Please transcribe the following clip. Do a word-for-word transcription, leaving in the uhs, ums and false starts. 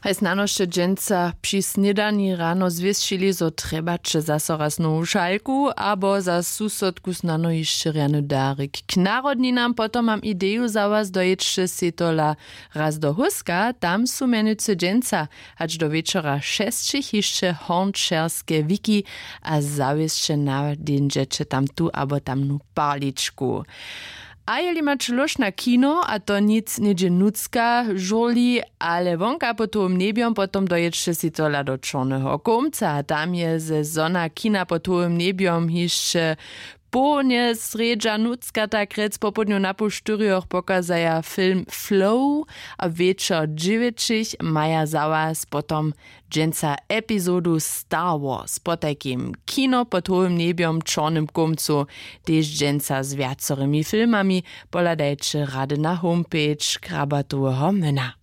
Haj snano sće dźensa při snědani rano zwěsćili, zo trjebaće zaso raz nowu šalku abo za susodku snano hišće rjany darik k narodninam. Potom mam ideju za was, dojědźće sej tola raz do hóska, tam su mjenujcy dźensa hač do wječora šesćich hišće hornčerske wiki a zawěsće nadźeńdźeće tam tu abo tamnu parličku. A jeli maće lóšt na kino a to nic něhdźe nutřka žurli, ale wonka pod hołym njebjom, potom dojědźće sej tola do čorneho kołmca a tam je ze zona kina pod hołym njebjom hišće połdnje srjedźa nutřka, tak rjec popołdnju na poł štyrjoch pokazaja film Flow a wječor dźewjećich maja za was potom dźensa epizodu Star Wars. Potajkim kino pod hołym njebjom w čornym kołmcu tež dźensa z wjacorymi filmami. Pohladajće rady na homepage Krabatoweho myna.